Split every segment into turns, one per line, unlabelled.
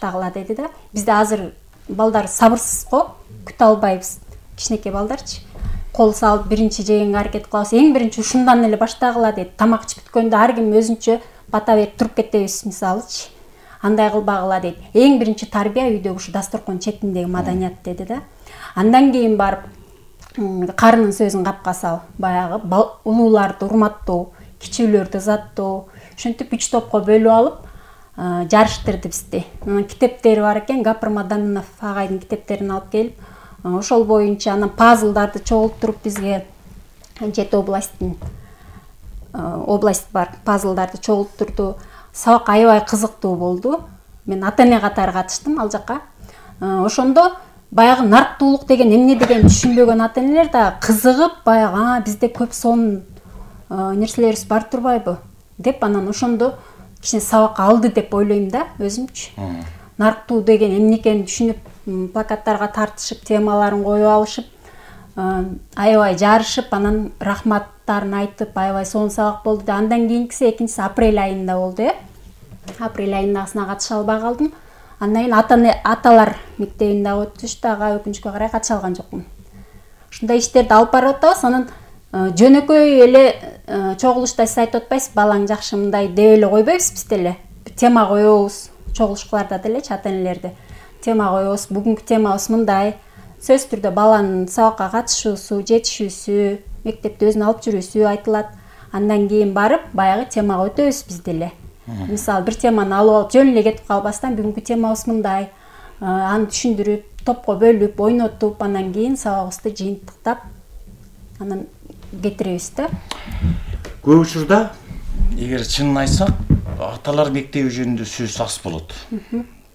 баштагыла деди да. Бизде азыр балдар сабырсыз го, күтө албайбыз. Кичинекей балдарчы. Кол салып биринчи жегенге аракет кылабыз. Эң биринчи ушундан эле баштагыла деди. Тамак ичип бүткөндө ар ким өзүнчө бата берип туруп кетебиз мисалычы. Андай кылбагыла деди. Эң биринчи тарбия үйдөгү ушу дасторкон четиндеги маданият деди да. Андан кийин барып карынын сөзүн капка сал. Баягы улууларды урматтоо, кичүүлөрдү ызаттоо. Ушинтип 3 топко бөлүп алып, жарыштырды бизди. Анан китептери бар экен, Гапырма Данынов агайдын китептерин алып келип, ошол боюнча анан пазлдарды чогултуруп бизге Жети областтын область бар, пазлдарды чогултурду. Сабак аябай кызыктуу болду. Мен ата-эне катары катыштым ал жакка. Ошондо баягы нарктуулук деген эмне деген түшүнбөгөн ата-энелер да кызыгып, баягы бизде көп сонун нерселерибиз бар турбайбы деп анан ошондо кичине сабак алды деп ойлойм да өзүмчү. Нарктуу деген эмне экенин түшүнүп, плакаттарга тартышып, темаларын коюп алышып, аябай жарышып, анан рахматтарын айтып, аябай сонун сабак болду да. Андан кийинкиси экинчиси апрель айында болду, Апрель айындагысына катыша албай калдым. Андан кийин аталар мектебинде өтүштү, ага өкүнүчкө карай катыша алган жокмун. Ушундай иштерди алып барып атабыз. Анан жөнөкөй эле чогулушта сиз айтып атпайсыз, балаң жакшы мындай деп эле койбойбуз биз деле. Тема коебуз, чогулушкаларда делечи ата-энелерде. Тема коебуз, бүгүнкү темабыз мындай. Сөз түрдө баланын сабакка катышуусу, жетишүүсү, мектепте өзүн алып жүрүүсү айтылат. Андан кийин барып, баягы темага өтөбүз биз деле. Мисалы, бир теманы алып алып, жөн эле кетип калбастан, бүгүнкү темабыз мындай. Аны түшүндүрүп, топко бөлүп, ойнотуп, андан кийин сабагыбызды жыйынтыктап, анан кетиребиз да.
Көп учурда, эгер чынын айтсак, аталар мектеби жөнүндө сөз аз болот.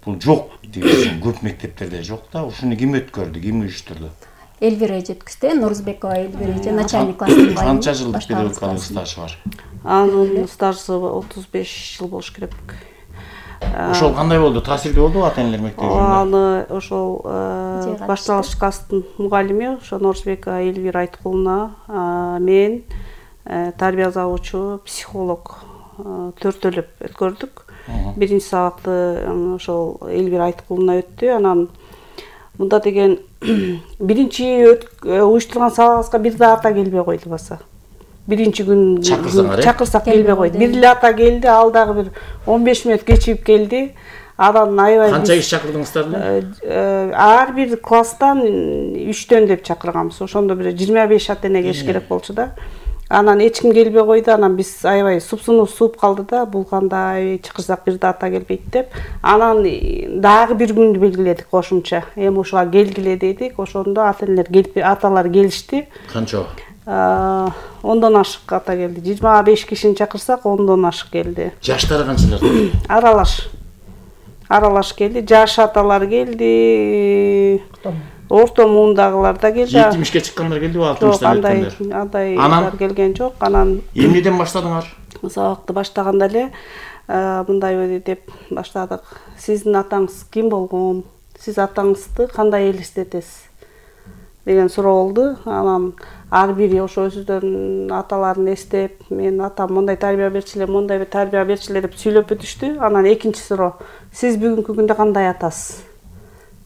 Бул жок деген көп мектептерде жок да. Ушуну ким өткөрдү, ким уюштурду?
Элвира жеткизди, Нурузбекова Элвира, начальник класстын баары.
Канча жылдык педагогикалык стажы бар?
Анын стажы 35 жыл болуш керек.
Ошол кандай болду? Таасирдүү болдубу ата-энелер мектебинде?
Аны ошол башталгыч класстын мугалими, ошо Нурузбекова Элвира Айткуловна, мен, тарбия забучу, психолог төртөлөп өткөрдүк. Биринчи сабакты ошол Элвира Айткуловна өттү. Анан мында деген биринчи уюштурган сабагыбызга бир да ата келбей койду баса. Биринчи күн чакырсак келбей койду. Бир эле ата келди, ал дагы бир 15 мүнөт кечигип келди. Анан аябай
канча киши чакырдыңыздар эле?
Ар бир класстан 3төн деп чакырганбыз. Ошондо бир 25 ата-эне келиш керек болчу да. Анан эч ким келбей койду. Анан биз аябай супсунуу сууп калды да, бул кандай чакырсак бир да ата келбейт деп. Анан дагы бир күндү белгиледик кошумча. Эми ушуга келгиле дедик. Ошондо ата-энелер келип, аталар келишти.
Канча?
10дон ашык ата келди. 25 кишини чакырсак 10дон ашык келди.
Жаштары канчалар?
Аралаш келди. Жаш аталар келди. Орто муундагылар да келди.
70-ке чыккандар келдиби, 60-тан өткөндөр?
Андай келген жок. Анан
эмнеден баштадыңар?
Сабакты баштаганда эле мындай деп баштадык. Сиздин атаңыз ким болгон? Сиз атаңызды кандай элестетесиз? Деген суроо болду. Анан ар бири ошо өзүнүн аталарын эстеп, мен атам мондай тарбия берчилер, мондай тарбия берчилер деп сүйлөп өтүштү. Анан экинчи суроо: сиз бүгүнкү күндө кандай атасыз?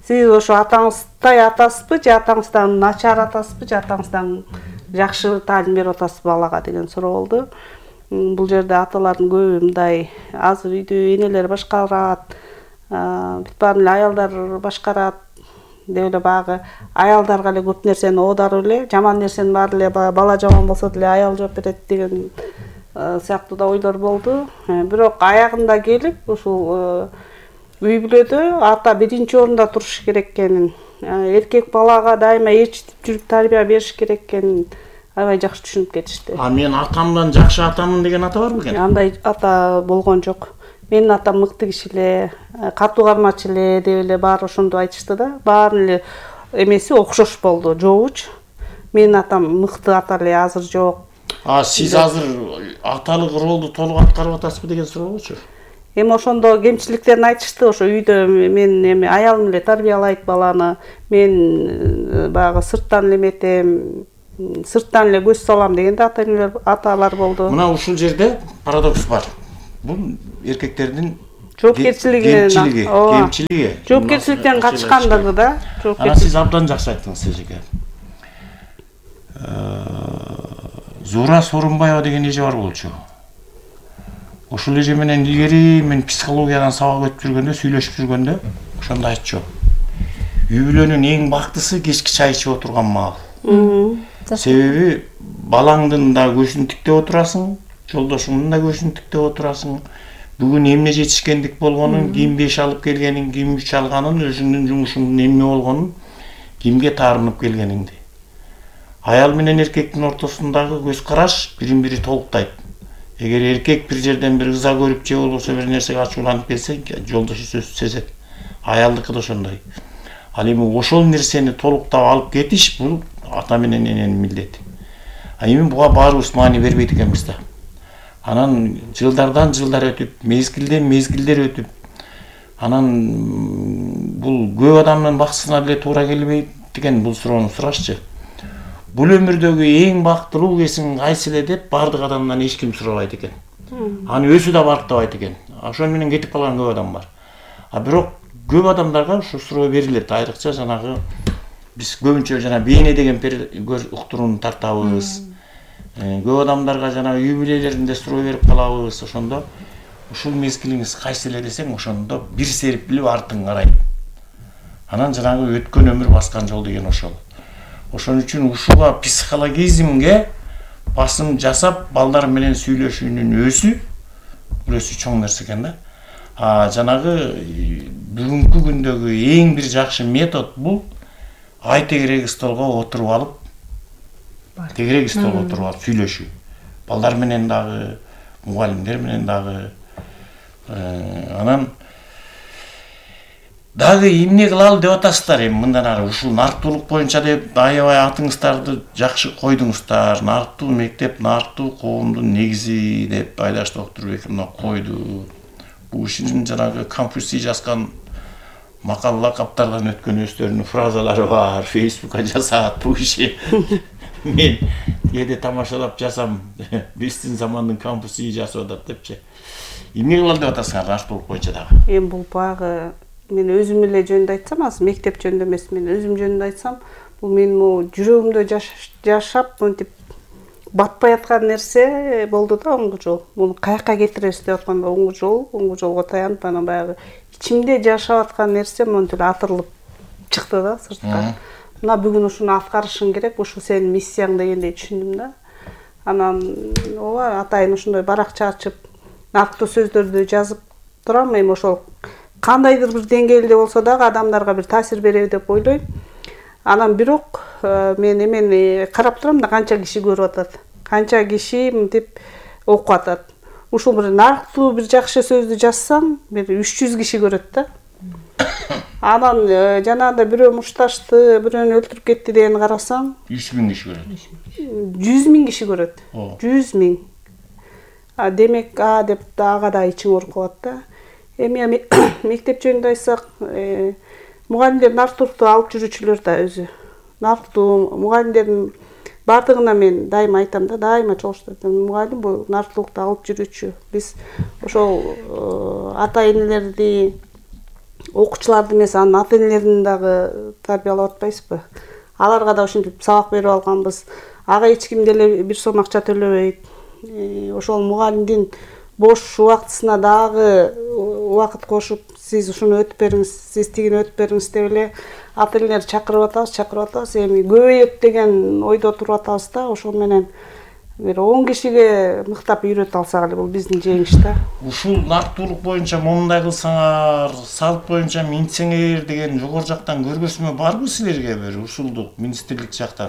Сиз ошо атаңыздай атасызбы, же атаңыздан начар атасызбы, же атаңыздан жакшы таалим берип атасызбы балага деген суроо болду. Бул жерде аталардын көбү мындай азыр үйдө энелер башкарат, бүт баарын эле аялдар башкарат деп эле баягы аялдарга эле көп нерсени оодарып эле, жаман нерсенин баары эле бала жаман болсо деле аял жооп берет деген сыяктуу да ойлор болду. Бирок аягында келип ушул үй бүлөдө ата биринчи орунда туруш керек экенин, эркек балага дайыма ээрчитип жүрүп тарбия бериш керек экенин аябай жакшы түшүнүп кетишти.
Мен атамдан жакшы атамын деген ата барбы экен?
Андай ата болгон жок. Менин атам мыкты киши эле, катуу кармачы эле деп эле баары ошондо айтышты да. Баарын эле эмеси окшош болду, жообучу. Менин атам мыкты ата эле, азыр жок.
Сиз азыр аталык ролду толук аткарып атасызбы деген суроочу?
Эми ошондо кемчиликтерин айтышты. Ошо үйдө мен эми аялым эле тарбиялайт баланы. Мен баягы сырттан эле эметем, сырттан эле көз салам деген да аталар болду.
Мына ушул жерде парадокс бар. Бул эркектердин
жоопкерчилигинен
кемчилиги
жоопкерчиликтен качкандыгы да.
Анан сиз абдан жакшы айттыңыз эжеке. Зура Сооронбаева деген эже бар болчу. Ошол эже менен илгери мен психологиядан сабак өтүп жүргөндө, сүйлөшүп жүргөндө ошондо айтчу. Үй бүлөнүн эң бактысы кечки чай ичип отурган маал. Себеби балаңдын да көзүн тиктеп отурасың, жолдошуңдун да көзүн тиктеп отурасың. Бүгүн эмне жетишкендик болгонун, ким 5 алып келгенин, ким 3 алганын, өзүңдүн жумушуңдун эмне болгонун, кимге таарынып келгениңди. Аял менен эркектин ортосундагы көз караш бирин-бири толуктайт. Эгер эркек бир жерден бир ыза көрүп же болбосо бир нерсеге ачууланып келсе, жолдошу сезет. Аялдыкы да ошондой. Ал эми ошол нерсени толуктап алып кетиш бул ата менен эненин милдети. Эми буга баарыбыз маани бербейт экенбиз да. Анан жылдардан жылдар өтүп, мезгилден мезгилдер өтүп, анан бул көп адамдын баксысына деле туура келбейт деген бул суроону сурашчы. Бул өмүрдөгү эң бактылуу кесиң кайсы эле деп бардык адамдан эч ким сурабайт экен. Аны өзү да барктабайт экен. Ошол менен кетип калган көп адам бар. Бирок көп адамдарга ушул суроо берилет. Айрыкча жанагы биз көбүнчө жана бейне деген уктурууну тартабыз. Көп адамдарга жана үй бүлөлөрүндө суроо берип калабыз. Ошондо ушул мезгилиңиз кайсы эле десең, ошондо бир серип билип артың карайт. Анан жанагы өткөн өмүр баскан жол деген ошол. Ошон үчүн ушуга психологизмге басым жасап, балдар менен сүйлөшүүнүн өзү чоң нерсе экен да. Жанагы бүгүнкү күндөгү эң бир жакшы метод бул ай тегерек столго отуруп алып, сүйлөшүү. Балдар менен дагы, мугалимдер менен дагы. Анан дагы эмне кылалы деп атасыздар эми мындан ары ушул нарыктуулук боюнча деп аябай атыңыздарды жакшы койдуңуздар. Нарыктуу мектеп, нарыктуу коомдун негизи деп Айдаш Доктурбеков койду. Бул ишин жанагы Конфуций жазган макал лакаптардан өткөн өздөрүнүн фразалары бар. Фейсбукка жазат бул иши. Мен кээде тамашалап жазам. Биздин замандын Конфуций жазып атат депчи. Эмне кылалы деп атасыңар нарыктуулук боюнча дагы?
Эми бул багы мен өзүм эле жөнүндө айтсам, азыр мектеп жөнүндө эмес, мен өзүм жөнүндө айтсам, бул менин жүрөгүмдө жашап, мынтип батпай аткан нерсе болду да оңгу жол. Муну каяка кетиребиз деп атканда оңгу жолго таянып, анан баягы ичимде жашап аткан нерсе монтип атырылып чыкты да сыртка. Мына бүгүн ушуну аткарышың керек, ушу сенин миссияң дегендей түшүндүм да. Анан ооба атайын ушундай баракча ачып, нарктуу сөздөрдү жазып турам. Эми ошол кандайдыр бир деңгээлде болсо дагы адамдарга бир таасир береби деп ойлойм. Анан бирок мен эмени карап турам да канча киши көрүп атат, канча киши мынтип окуп атат. Ушул бир нарктуу бир жакшы сөздү жазсам, бир 300 киши көрөт да. Анан жанагындай бирөө мушташты, бирөөнү өлтүрүп кетти дегени карасам,
3000 киши көрөт.
100 000 киши көрөт. 100 000. Демек деп ага да ичиң ооруп калат да. Эми мектеп жөнүндө айтсак, мугалимдер нарктуулукту алып жүрүүчүлөр да өзү. Нарктуу мугалимдердин бардыгына мен дайыма айтам да, дайыма чогулуштуруп айтам. Мугалим бул нарктуулукту алып жүрүүчү. Биз ошол ата энелерди, окуучуларды эмес, анын ата энелерин дагы тарбиялап атпайсызбы? Аларга да ушинтип сабак берип алганбыз. Ага эч ким деле бир сом акча төлөбөйт. Ошол мугалимдин бош убактысына дагы убакыт кошуп, сиз ушуну өтүп бериңиз, сиз тигини өтүп бериңиз деп эле ата энелерди чакырып атабыз. Эми көбөйөт деген ойдо туруп атабыз да. Ошол менен бир 10 кишиге мыктап үйрөтүп алсак эле бул биздин жеңиш да.
Ушул нарктуулук боюнча момундай кылсаңар, салт боюнча минтсеңер деген жогору жактан көргөзмө барбы силерге бир ушулдук министрлик жактан?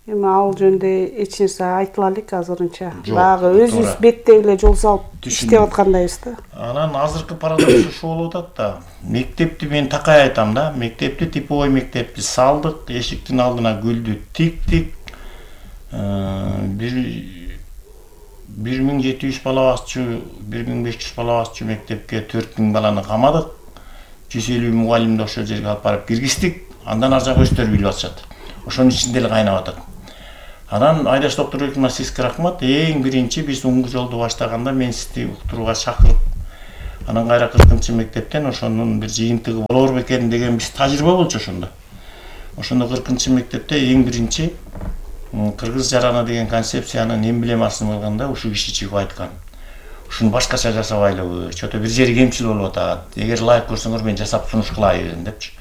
Эми ал жөнүндө эч нерсе айтыла элек азырынча. Багы өзүбүз беттей эле жол салып иштеп аткандайбыз да.
Анан азыркы парадокс ушул болуп атат да. Мектепти мен такай айтам да. Мектепти типовой мектепти салдык, эшиктин алдына гүлдү тиктик. 1700 бала басчу, 1500 бала басчу мектепке 4000 баланы камадык. 150 мугалимди ошол жерге алып барып киргиздик. Андан ар жак өздөрү билип атышат. Ошонун ичинде эле кайнап атат. Анан Айдаш Доктурбековна сизге рахмат. Эң биринчи биз оңгу жолду баштаганда мен сизди уктурууга чакырып, Анан кайра 40-мектептен ошонун бир жыйынтыгы болор бекен деген биз тажрыйба болчу ошондо. Ошондо 40-мектепте эң биринчи кыргыз жараны деген концепциянын эмблемасын кылганда ушу киши чыгып айткан. Ушуну башкача жасабайлыбы, чото бир жери кемчил болуп атат. Эгер ылайык көрсөңөр мен жасап сунуш кылайын депчи.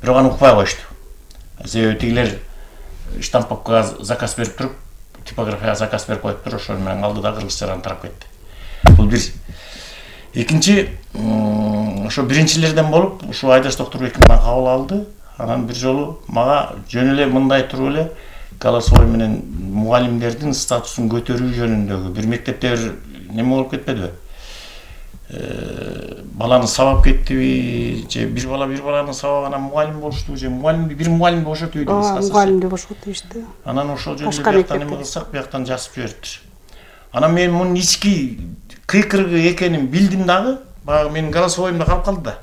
Бирок аны укпай коюшту. Себеби тигилер штамповкага заказ берип туруп, типографияга заказ берип коюптур, ошол менен алды да кыргыз жараны тарап кетти. Бул бир. Экинчи, ошо биринчилерден болуп, ушу Айдаш Докторбеков мага кабыл алды. Анан бир жолу мага жөн эле мындай туруп эле голосовой менен мугалимдердин статусун көтөрүү жөнүндөгү бир мектепте бир неме болуп кетпедиби? Баланы сабап кеттиби, же бир баланы сабаган мугалим болушту, же мугалимди бир мугалимди бошотуп ийди кыскасы.
Мугалимди бошотуп ийди.
Анан ошол жөнүндө бияктан эме кылсак, бияктан жазып жибериптир. Анан мен мунун ички кыйкырыгы экенин билдим дагы, баягы менин голосовойумда калып калды да.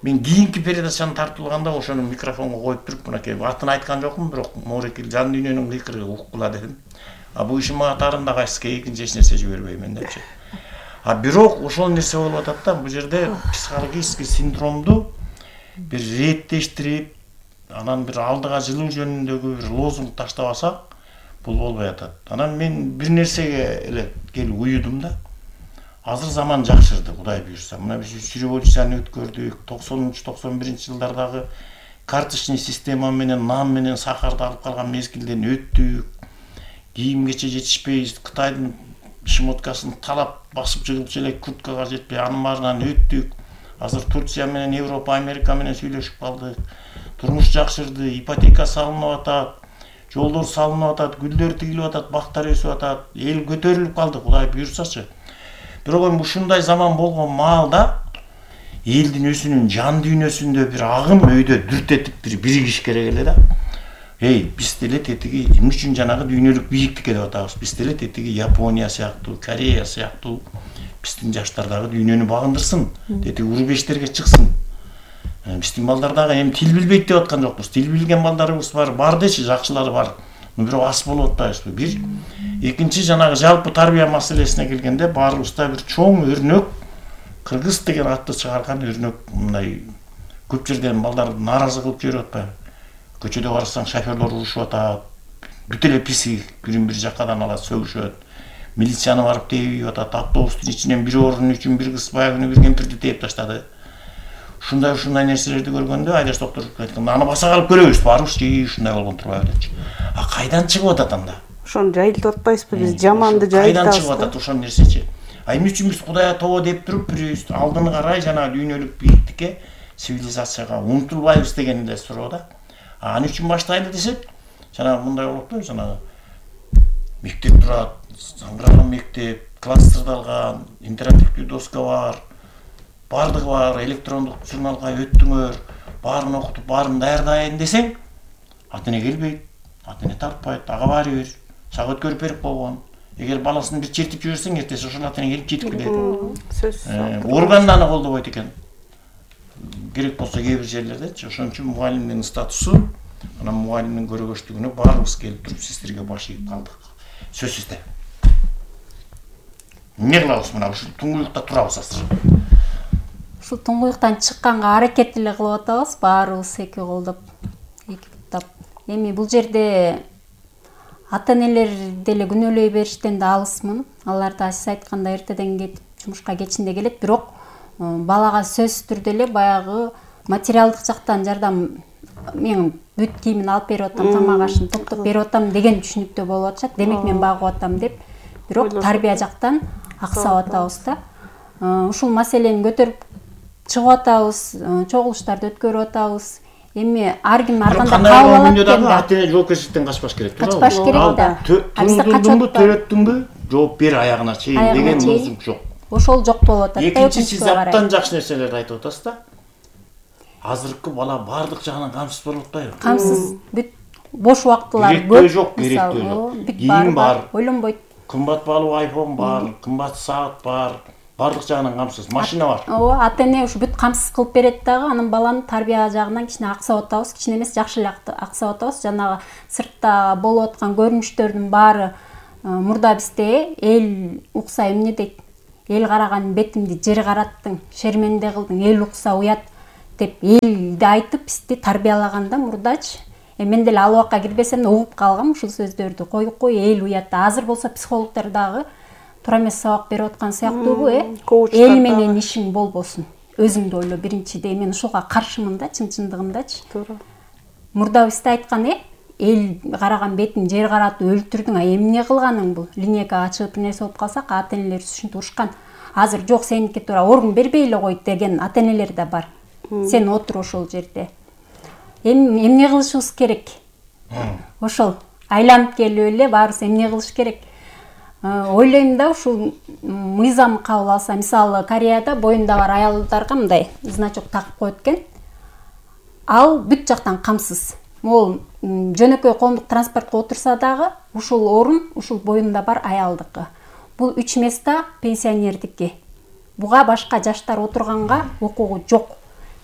Мен кийинки передачаны тартылганда ошону микрофонго коюп туруп, мынакей атын айткан жокмун, бирок Моорекил жан дүйнөнүн кыйкырыгы уккула дедим. Бул ишин мага таарында кайсыска экинчи эч нерсе жибербеймин депчи. Бирок ошол нерсе болуп атат да, бул жерде психологический синдромду бир реттештирип, анан бир алдыга жылуу жөнүндөгү бир лозунг таштабасак, бул болбой атат. Анан мен бир нерсеге эле келип уюдум да. Азыр заман жакшырды, Кудай буйрса. Мына биз үч революцияны өткөрдүк. 90-91 жылдардагы карточный система менен нан менен сахарды алып калган мезгилден өттүк. Кийим кече жетишпей, Кытайдын шмоткасын талап басып жыгылчу элек курткага жетпей, анын баарынан өттүк. Азыр Турция менен Европа, Америка менен сүйлөшүп калдык. Турмуш жакшырды, ипотека салынып атат, жолдор салынып атат, гүлдөр тигилип атат, бактар өсүп атат. Эл көтөрүлүп калды, Кудай буйрсачы. Бирок ушундай заман болгон маалда элдин өзүнүн жан дүйнөсүндө бир агым өйдө дүрт этип бир биригиш керек эле да. Биз деле тетиги эмне үчүн жанагы дүйнөлүк бийиктикке деп атабыз. Биз деле тетиги Япония сыяктуу, Корея сыяктуу биздин жаштар дагы дүйнөнү багындырсын, тетиги урбештерге чыксын. Биздин балдар дагы эми тил билбейт деп аткан жокпуз. Тил билген балдарыбыз бар дечи, жакшылары бар. Бирок ас болуп атпайбызбы? Бир. Экинчи, жанагы жалпы тарбия маселесине келгенде баарыбызда бир чоң өрнөк, кыргыз деген атты чыгарган өрнөк, мындай көп жерден балдар нааразы кылып жиберип атпайбы? Көчөдө карасаң шоферлор урушуп атат, бүт эле писи бирин-бири жаккадан алат, сөгүшөт. Милицияны барып тээп атат, автобустун ичинен бир орун үчүн бир кыз баягы бир кемпирди тээп таштады. Ушундай нерселерди көргөндө Айдаш Докторбеков айткан, аны баса калып көрөбүз, барыбыз ушундай болгон турбайбы депчи. Кайдан чыгып атат анда?
Ошону жайылтып атпайсызбы? Биз жаманды жайылтабыз.
Кайдан чыгып атат ошол нерсечи? Эмне үчүн биз Кудайга тобо деп туруп, бирибиз алдыны карай жанагы дүйнөлүк бийиктикке, цивилизацияга умтулбайбыз деген эле суроо да. Аны үчүн баштайлы десек, жанагы мындай болуп атпайбы, жанагы мектеп турат, саңгыраган мектеп, класстырдалган, интерактивдүү доска бар, бардыгы бар, электрондук журналга өттүңөр, баарын окутуп, баарын даярдайын десең, ата эне келбейт, ата эне тартпайт, ага баары бир, сага өткөрүп берип койгон. Эгер баласын бир чертип жиберсең, эртеси ошол ата эне келип жетип келет.
Сөзсүз.
Орган да аны колдобойт экен. Керек болсо кээ бир жерлердечи, ошон үчүн мугалимдин статусу, анан мугалимдин көрөгөчтүгүнө баарыбыз келип туруп сиздерге баш ийип калдык. Сөзсүз да. Эмне кылабыз мына ушул туңгуюкта турабыз азыр.
Ушул туңгуюктан чыкканга аракет эле кылып атабыз, баарыбыз эки колдоп, эки буттап. Эми бул жерде ата-энелер деле күнөөлөй бериштен да алысмын. Алар да сиз айткандай эртеден кетип, жумушка кечинде келет, бирок балага сөзсүз түрдө эле баягы материалдык жактан жардам, мен бүт кийимин алып берип атам, тамак ашын топтоп берип атам деген түшүнүктө болуп атышат. Демек мен багып атам деп, бирок тарбия жактан аксап атабыз да. Ушул маселени көтөрүп чыгып атабыз, чогулуштарды өткөрүп атабыз. Эми ар ким ар кандай кабыл алат экен да.
Ата эне жоопкерчиликтен качпаш керек.
Качпаш керек да.
Туңдурдуңбу, төрөттүңбү, жооп бер аягына чейин деген лозунг жок.
Ошол жок болуп атат.
Экинчиси, абдан жакшы нерселерди айтып атасыз да. Азыркы бала бардык жагынан камсыз болуп атпайбы?
Камсыз, бүт бош убактылар
көп. Керектөө жок, керектөө жок. Кийим бар,
ойлонбойт.
Кымбат баалуу iPhone бар, кымбат саат бар, бардык жагынан камсыз, машина бар.
Ооба, ата эне ушу бүт камсыз кылып берет дагы, анын баланы тарбия жагынан кичине аксап атабыз, кичине эмес, жакшы эле аксап атабыз. Жанагы сыртта болуп аткан көрүнүштөрдүн баары мурда бизде эл укса эмне дейт? эл караган бетимди жер караттың, шерменде кылдың, эл укса уят деп элди айтып бизди тарбиялаганда мурдачы. Мен деле ал убакка кирбесем да угуп калгам ушул сөздөрдү. Кой эл уят. Азыр болсо психологдор дагы туура эмес сабак берип аткан сыяктуубу, эл менен ишиң болбосун. Өзүңдү ойло биринчиде. Мен ушуга каршымын да, чын-чындыгындачы.
Туура.
Мурда бизде айткан эл караган бетин жер каратып өлтүрдүң, эмне кылганың бул? Линейкага чыгып нерсе болуп калсак, ата-энелер ушинтип урушкан. Азыр жок, сеники туура орун бербей эле кой деген ата-энелер да бар. Сен отур ошол жерде. Эмне кылышыбыз керек? Ошол айланып келип эле баарыбыз эмне кылыш керек? Ойлойм да, ушул мыйзам кабыл алса, мисалы Кореяда боюнда бар аялдарга мындай значок такып коет экен. Ал бүт жактан камсыз. Могул жөнөкөй коомдук транспортко отурса дагы ушул орун ушул боюнда бар аялдыкы. Бул 3 места пенсионердики. Буга башка жаштар отурганга укугу жок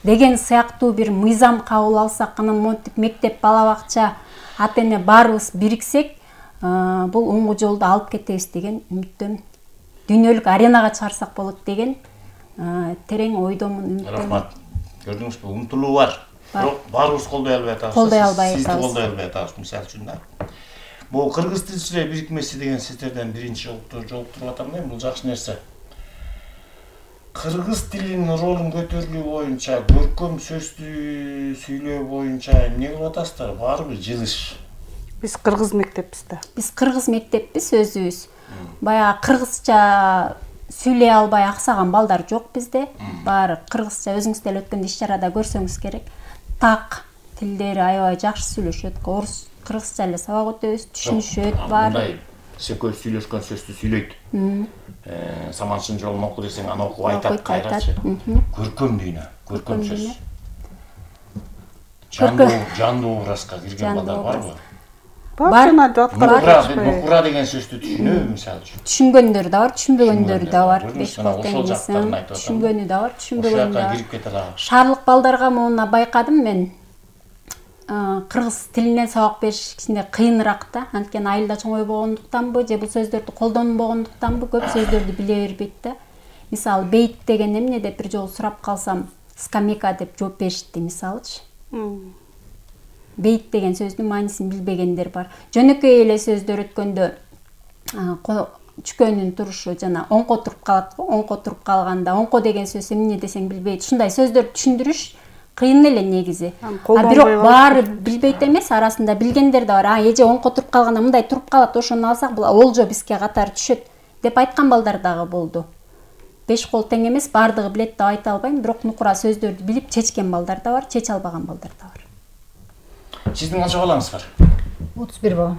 деген сыяктуу бир мыйзам кабыл алсак, анан монтип мектеп, бала бакча, ата-эне баарыбыз бириксек, бул оңгу жолду алып кетебиз деген үмүттөмүн. Дүйнөлүк аренага чыгарсак болот деген терең ойдомун, үмүттөмүн.
Рахмат. Көрдүңүзбү, умтулуу бар. Бирок баарыбыз колдой албай атабыз. Сизди колдой албай атабыз, мисалы үчүн да. Бул кыргыз тилчилер бирикмеси деген сиздерден биринчи жолуктуруп атам да, бул жакшы нерсе. Кыргыз тилинин ролун көтөрүлүү боюнча, көркөм сөздү сүйлөө боюнча эмне кылып атасыздар? Баарыбыз жылыш.
Биз кыргыз мектеппиз да.
Биз кыргыз мектеппиз өзүбүз. Баягы кыргызча сүйлөй албай аксаган балдар жок бизде. Баары кыргызча өзүңүз деле өткөндө иш-чарада көрсөңүз керек. Так тилдери аябай жакшы сүйлөшөт. Орус кыргызча эле сабак өтөбүз, түшүнүшөт баары.
Секөө сүйлөшкөн сөздү сүйлөйт. Саманчын жолун оку десең, аны окуп айтат кайрачы. Көркөм дүйнө, көркөм сөз. Жандуу образга кирген балдар барбы?
Бар.
Нукура деген сөздү түшүнөбү, мисалы үчүн?
Түшүнгөндөр да бар, түшүнбөгөндөр да бар. Түшүнгөнү да бар, түшүнбөгөнү да бар. Шаарлык балдарга муну байкадым мен. Кыргыз тилинен сабак бериш кичине кыйыныраак да. Анткени айылда чоңой болгондуктанбы, же бул сөздөрдү колдонбогондуктанбы көп сөздөрдү биле бербейт да. Мисалы бейт деген эмне деп бир жолу сурап калсам, скамейка деп жооп беришти, мисалычы. Бейт деген сөздүн маанисин билбегендер бар. Жөнөкөй эле сөздөр өткөндө чүкөнүн турушу жана оңко туруп калат го. Оңко туруп калганда оңко деген сөз эмне десең билбейт. Ушундай сөздөрдү түшүндүрүш кыйын эле негизи. Бирок баары билбейт эмес, арасында билгендер да бар. Эже оңко туруп калганда мындай туруп калат, ошону алсак бул олжо бизге катары түшөт деп айткан балдар дагы болду. 5 кол тең эмес, бардыгы билет деп айта албайм, бирок нукура сөздөрдү билип чечкен балдар да бар, чече албаган балдар да бар.
Сиздин канча балаңыз бар?
31 бала.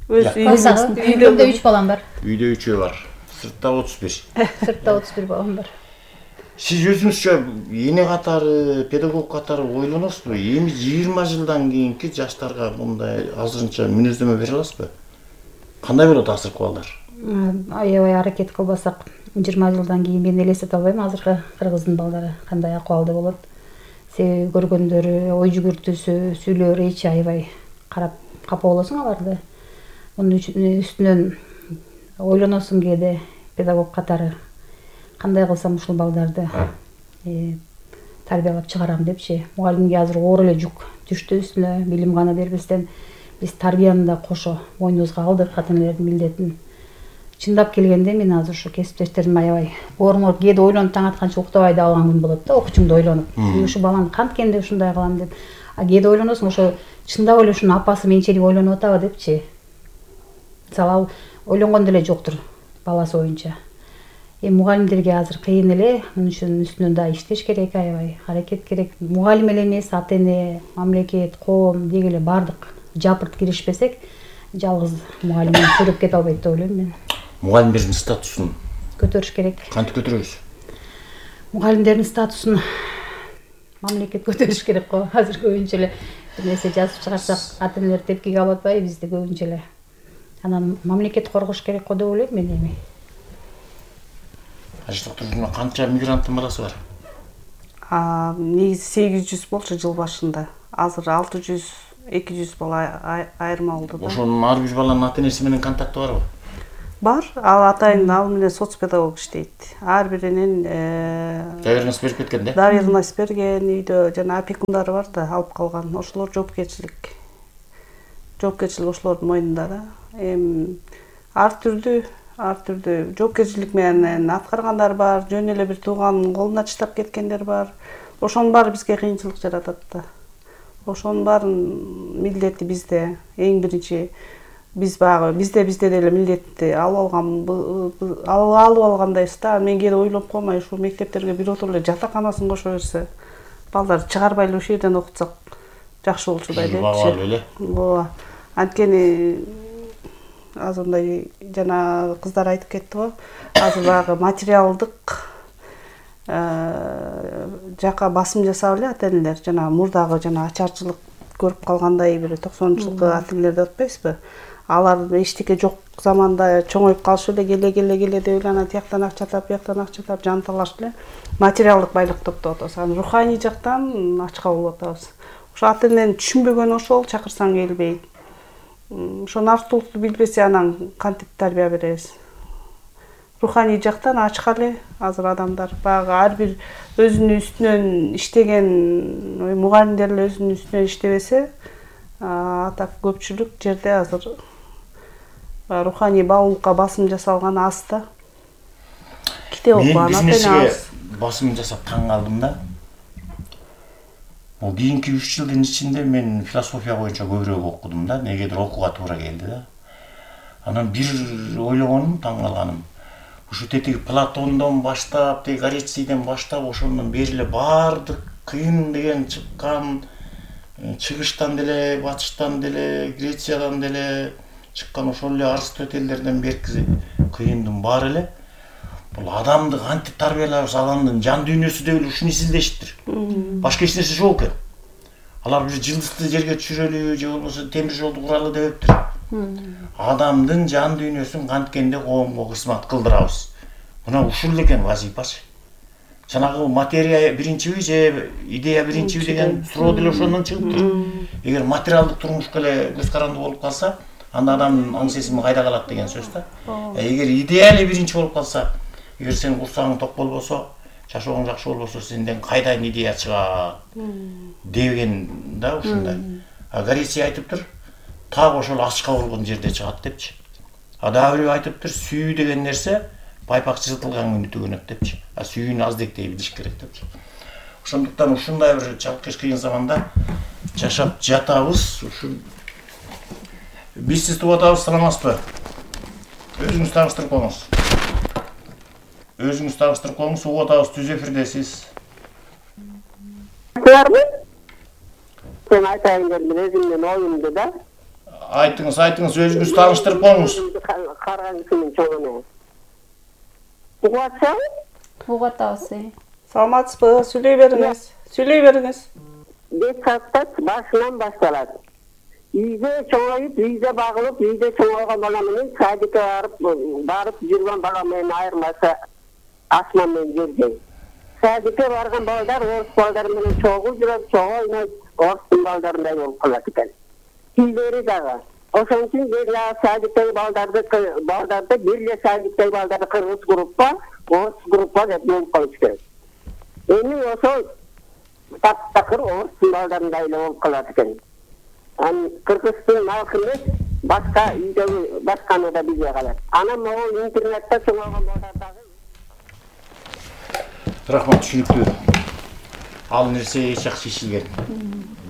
Үйдө
3 балам бар.
Үйдө 3 бар. Сыртта 31.
Сыртта 31 балам бар.
Сиз өзүңүзчө эне катары, педагог катары ойлоносузбу? Эми 20 жылдан кийинки жаштарга мындай азырынча мүнөздөмө бере аласызбы? Кандай болот азыркы балдар?
Аябай аракет кылбасак, 20 жылдан кийин мен элестете албайм азыркы кыргыздын балдары кандай акыбалда болот. Себеби көргөндөрү, ой жүгүртүүсү, сүйлөөрү эч аябай карап капа болосуң аларды. Мунун үстүнөн ойлоносуң кээде педагог катары кандай кылсам ушул балдарды тарбиялап чыгарам депчи. Мугалимге азыр оор эле жүк түштү үстүнө, билим гана бербестен биз тарбияны да кошо мойнубузга алдык, ата-энелердин милдетин. Чындап келгенде мен азыр ушу кесиптештерим аябай орнуп кээде ойлонуп таң атканча уктабай да алган күн болот да, окуучумду ойлонуп. Ушу баланы канткенде ушундай кылам деп. Кээде ойлоносуң, ошо чындап эле ушунун апасы менчелик ойлонуп атабы депчи. Мисалы ал ойлонгон деле жоктур баласы боюнча. Мугалимдерге азыр кыйын эле, мунун үстүнөн да иштеш керек, аябай аракет керек. Мугалим эле эмес, ата-эне, мамлекет, коом деги эле бардык жапырт киришпесек, жалгыз мугалим чөгүп кете албайт деп ойлойм мен.
Мугалимдердин статусун
көтөрүш керек.
Кантип көтөрөбүз?
Мугалимдердин статусун мамлекет көтөрүш керек го. Азыр көбүнчө эле бир нерсе жазып чыгарсак, ата-энелер тепкиге алып атпайбы бизде көбүнчө эле. Анан мамлекет коргош керек го деп ойлойм мен эми.
Аштыктырууна канча мигранттын баласы бар?
Негизи 800 болчу жыл башында. Азыр 600-200 бала айырма болду да.
Ошонун ар бир баланын ата-энеси менен контакты барбы?
бар. Ал атайын ал менен соцпедагог иштейт. Ар биринин
доверенность берип кеткен да.
доверенность берген, үйдө жана опекундары бар да, алып калган. Ошолор жоопкерчилик ошолордун мойнунда да. Ар түрдүү жоопкерчилик менен аткаргандар бар, жөн эле бир тууганын колуна чыдап кеткендер бар. Ошонун баары бизге кыйынчылык жаратат да. Ошонун баарын милдети бизде. Эң биринчи бизде деле милдетти алып алгандайбыз да. Мен кээде ойлоп коймай ушул мектептерге биротур эле жатаканасын кошо берсе, балдар чыгарбай эле ушул жерден окутсак жакшы болчудай депчи.
Багалы эле.
Ооба. Анткени азыр мындай жана кыздар айтып кетти го. Азыр багы материалдык жака басым жасап эле ата-энелер, жана мурдагы жана ачарчылык көрүп калгандай бир 90-жылкы ата-энелер деп атпайсызбы? Алар эчтеке жок заманда чоңоюп калышып эле келе деп эле анан тияктан акча тап, бияктан акча тап, жан талашып эле материалдык байлык топтоп атабыз. Анан руханий жактан ачка болуп атабыз. Ошо ата-эненин түшүнбөгөнү ошол, чакырсаң келбейт. Ошо артылыктуу билбесе анан кантип тарбия беребиз? Руханий жактан ачка эле азыр адамдар. Багы ар бир өзүнүн үстүнөн иштеген мугалимдер эле өзүнүн үстүнөн иштебесе, атак көпчүлүк жерде азыр руханий баалуулукка басым жасалган аз да. Китеп окуган
ата-эне басым жасап таң калдым да. Бул кийинки 3 жылдын ичинде мен философия боюнча көбүрөөк окудум да, негедир окууга туура келди да. Анан бир ойлогонум, таң калганым, ушу тетиги Платондон баштап, теги Горецийден баштап, ошондон бери эле баардык кыйын деген чыккан, чыгыштан деле, батыштан деле, Грециядан деле чыккан ошол эле Аристотельдерден берки кыйындын баары эле бул адамды кантип тарбиялабыз, адамдын жан дүйнөсү деп эле ушуну изилдештир. Башка эч нерсе жок экен. Алар бир жылдызды жерге түшүрөлү же болбосо темир жолду куралы дептир. Адамдын жан дүйнөсүн канткенде коомго кызмат кылдырабыз. Мына ушул экен вазипасы. Жанагы материя биринчиби же идея биринчиби деген суроо деле ошондон чыгыптыр. Эгер материалдык турмушка эле көз каранды болуп калса, анда адамдын аң сезими кайда калат деген сөз да. Эгер идея эле биринчи болуп калса, эгер сен курсагың ток болбосо, жашооң жакшы болбосо, сенден кайдан идея чыгат деген да ушундай. Гореция айтыптыр, так ошол ачка болгон жерде чыгат депчи. Дагы бирөө айтыптыр, сүйүү деген нерсе пайпак чызытылган күнү төгөнөт депчи. Сүйүүнү аздектей билиш керек депчи. Ошондуктан ушундай бир чалкыш кыйын заманда жашап жатабыз. Ушул биз сиз туруп атабыз, саламатсызбы? Өзүңүз тааныштырып коюңуз. Угуп атабыз, түз эфирдесиз.
Sen айтайын дедим, өзүмдүн оюмду да.
Айтыңыз, өзүңүз тааныштырып коюңуз.
Карган кишинин чоңуна. Угуп атсаң?
Угуп атабыз.
Саламатсызбы? Сүйлөй бериңиз.
Бет сааттап башынан башталат. Үйдө чоңоюп, үйдө багылып, үйдө чоңойгон бала менен садикке барып жүргөн бала менен айырмасы асман менен жердей. Садикке барган балдар орус балдар менен чогуу жүрөт, чогуу ойнойт, орустун балдарындай болуп калат экен. Тилдери дагы. Ошон үчүн бир садиктеги балдарды бир садиктеги балдарды кыргыз группа, орус группа деп бөлүп коюш керек. Эми ошол таптакыр орустун балдарындай эле болуп калат экен. Кыргыздын алкы эмес, башка үйдөгү башканы да билбей калат. Анан могул интернетте чоңойгон балдар дагы.
Рахмат, түшүнүктүү. Ал нерсе эч жакшы чечилген.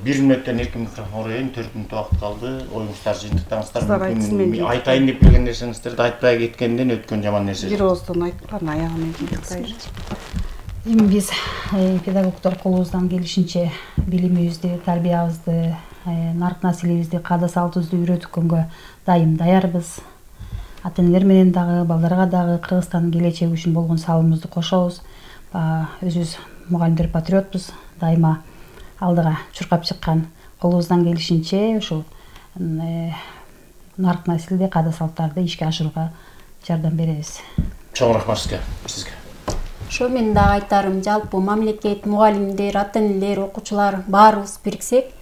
1 мүнөттөн эркин микрофон берейин, 4 мүнөт убакыт калды. Оюңуздар жыйынтыктаңыздар. Айтайын деп келген нерсеңиздерди айтпай кеткенден өткөн жаман нерсе.
Бир ооздон айткан аягын айтайын.
Эми биз педагогдор колубуздан келишинче билимибизди, тарбиябызды, нарк населебизди, каада салтыбызды үйрөткөнгө дайым даярбыз. Ата-энелер менен дагы, балдарга дагы Кыргызстандын келечеги үчүн болгон салымыбызды кошобуз. Өзүбүз мугалимдер патриотбуз, дайыма алдыга чуркап чыккан колубуздан келишинче ушул нарк населде каада салттарды ишке ашырууга жардам беребиз.
Чоң рахмат сизге.
Ошо мен дагы айтарым, жалпы мамлекет, мугалимдер, ата-энелер, окуучулар баарыбыз бириксек,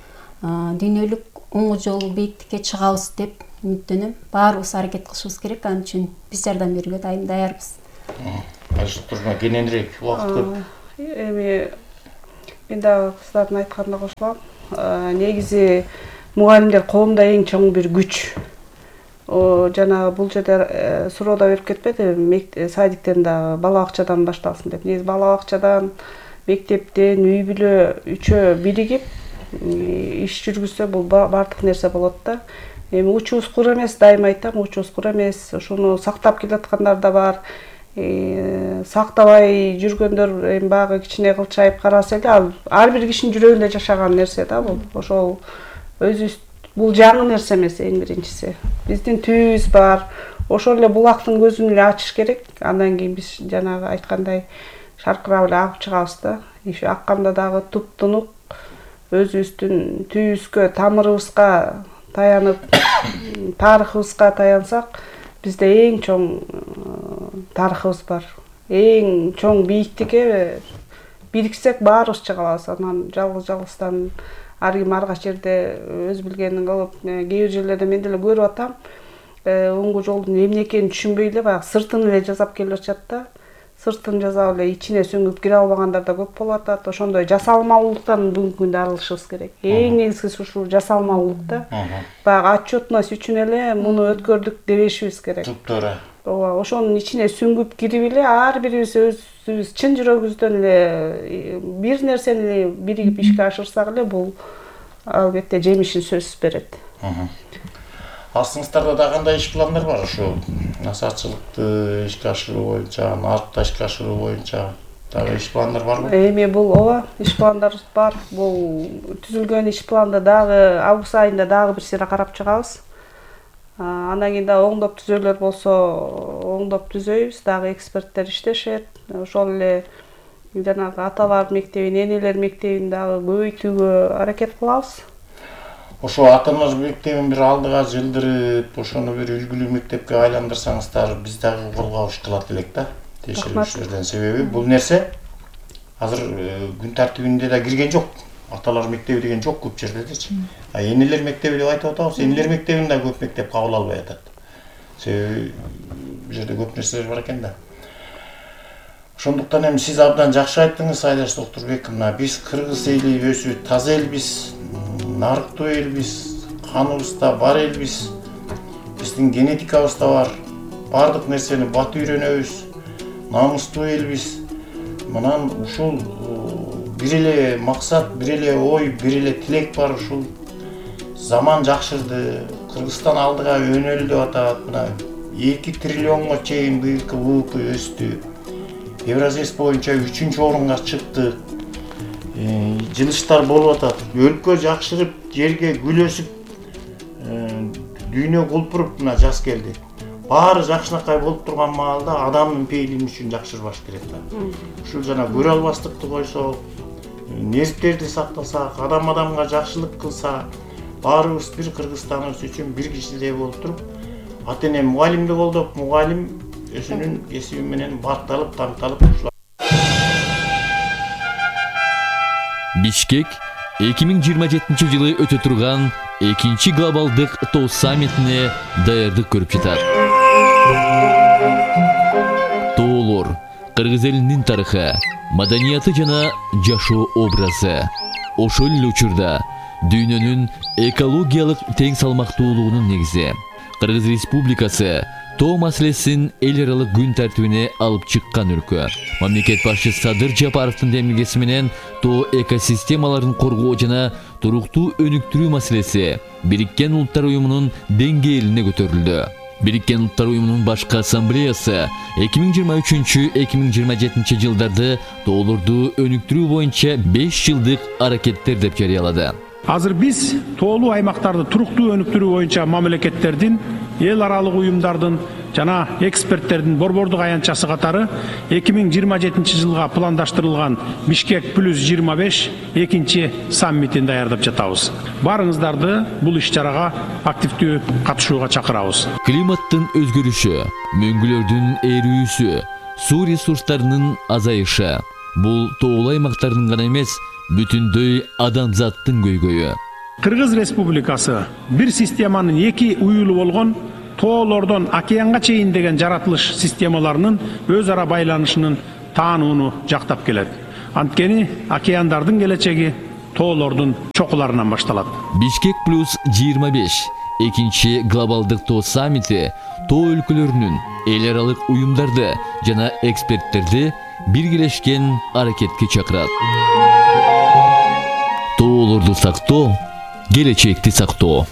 дүйнөлүк оңгу жолу бийиктикке чыгабыз деп үмүттөнөм. Баарыбыз аракет кылышыбыз керек. Ал үчүн биз жардам берүүгө даярбыз.
Турма кененирээк убакыт көп.
Эми мен дагы кыздардын айтканына кошулам. Негизи мугалимдер коомдо эң чоң бир күч. Жана бул жерде суроода берип кетпеди, садиктен дагы бала бакчадан башталсын деп. Негизи бала бакчадан, мектептен, үй бүлө үчөө биригип иш жүргүзсө бул бардык нерсе болот да. Эми учубуз кур эмес, дайыма айтам, учубуз кур эмес. Ошону сактап келаткандар да бар. Сактабай жүргөндөр эми баягы кичине кылчайып караса эле, ар бир кишинин жүрөгүндө жашаган нерсе да бул. Ошол өзүбүз бул жаңы нерсе эмес эң биринчиси. Биздин түйүбүз бар. Ошол эле булактын көзүн эле ачыш керек. Андан кийин биз жанагы айткандай шаркырап эле агып чыгабыз да. Иши акканда дагы туп-тунук өзүбүздүн түйүбүзгө, тамырыбызга таянып, тарыхыбызга таянсак, бизде эң чоң тарыхыбыз бар. Эң чоң бийиктикке бириксек баарыбыз чыга алабыз. Анан жалгыз-жалгыздан ар ким арга жерде өз билгенин кылып, кээ бир жерлерде мен деле көрүп атам. Оңго жолдун эмне экенин түшүнбөй эле баягы сыртын эле жасап келип атышат да. Сыртын жасап эле ичине сүңгүп кире албагандар да көп болуп атат. Ошондой жасалмалуулуктан бүгүнкү күндө арылышыбыз керек. Эң негизгиси ушул жасалмалуулук да. Баягы отчетность үчүн эле муну өткөрдүк дебешибиз керек.
Туура.
Ооба, ошонун ичине сүңгүп кирип эле ар бирибиз өзүбүз чын жүрөгүбүздөн эле бир нерсени биригип ишке ашырсак эле бул албетте жемишин сөзсүз берет.
Астыңыздарда да кандай иш пландар бар ушу насаатчылыкты ишке ашыруу боюнча, нарыкта ишке ашыруу боюнча дагы иш пландар барбы?
Эми бул ооба, иш пландарыбыз бар. Бул түзүлгөн иш планды дагы август айында дагы бир сыйра карап чыгабыз. Андан кийин дагы оңдоп түзөөлөр болсо, оңдоп түзөйбүз. Дагы эксперттер иштешет. Ошол эле жанагы аталар мектебин, энелер мектебин дагы көбөйтүүгө аракет кылабыз.
Ошо ата-аналар мектебин бир алдыга жылдырып, ошону бир үлгүлүү мектепке айландырсаңыздар, биз дагы колго алыш кылат элек да. Текшерүүчүлөрдөн себеби бул нерсе азыр күн тартибинде да кирген жок. Аталар мектеби деген жок көп жерлердечи. Энелер мектеби деп айтып атабыз. Энелер мектебин да көп мектеп кабыл албай атат. Себеби бул жерде көп нерселер бар экен да. Ошондуктан эми сиз абдан жакшы айттыңыз, Айдаш Доктурбек. Мына биз кыргыз эли өсү таза элбиз, нарыктуу элбиз, каныбызда бар элбиз. Биздин генетикабызда бар. Бардык нерсени бат үйрөнөбүз. Намыстуу элбиз. Мынан ушул бир эле максат, бир эле ой, бир эле тилек бар. Ушул заман жакшырды, Кыргызстан алдыга өнөлдү деп атат. Мына 2 триллионго чейин быйылкы ВВП өстү. Евразес боюнча 3-орунга чыкты. Жылыштар болуп атат. Өлкө жакшырып, жерге гүл өсүп, дүйнө кулпуруп мына жаз келди. Баары жакшынакай болуп турган маалда адамдын пейилими үчүн жакшырбаш керек да. Ушул жана көрө албастыкты койсок, нервтерди сактасак, адам-адамга жакшылык кылса, баарыбыз бир Кыргызстаныбыз үчүн бир кишидей болуп туруп, ата-эне мугалимди колдоп, мугалим өзүнүн кесиби менен бакталып, таңталып ушул.
Бишкек 2027-жылы өтө турган 2-чи глобалдык тоо саммитине даярдык көрүп жатат. Тоолор кыргыз элинин тарыхы, маданияты жана жашоо образы. Ошол эле учурда дүйнөнүн экологиялык тең салмактуулугунун негизи. Кыргыз Республикасы тоо маселесин эл аралык күн тартибине алып чыккан өлкө. Мамлекет башчысы Садыр Жапаровдун демилгеси менен тоо экосистемаларын коргоо жана туруктуу өнүктүрүү маселеси Бириккен Улуттар Уюмунун деңгээлине көтөрүлдү. Бириккен Улуттар Уюмунун башкы ассамблеясы 2023-2027 жылдарды тоолорду өнүктүрүү боюнча 5 жылдык аракеттер деп жарыялады.
Азыр биз тоолуу аймактарды туруктуу өнүктүрүү боюнча мамлекеттердин, эл аралык уюмдардын жана эксперттердин борбордук аянтчасы катары 2027 жылга пландаштырылган Бишкек плюс 25 экинчи саммитин даярдап жатабыз. Барыңыздарды бул иш-чарага активдүү катышууга чакырабыз.
Климаттын өзгөрүшү, мөңгүлөрдүн эрүүсү, суу ресурстарынын азайышы бул тоолуу аймактардын гана эмес, бүтүндөй адамзаттын көйгөйү.
Кыргыз Республикасы бир системанын эки уюлу болгон тоолордон океанга чейин деген жаратылыш системаларынын өз ара байланышынын таанууну жактап келет. Анткени океандардын келечеги тоолордун чокуларынан башталат.
Бишкек плюс 25 экинчи глобалдык тоо саммити тоо өлкөлөрүнүн эл аралык уюмдарды жана эксперттерди биргелешкен аракетке чакырат. Тоолорду сактоо, келечекти сактоо.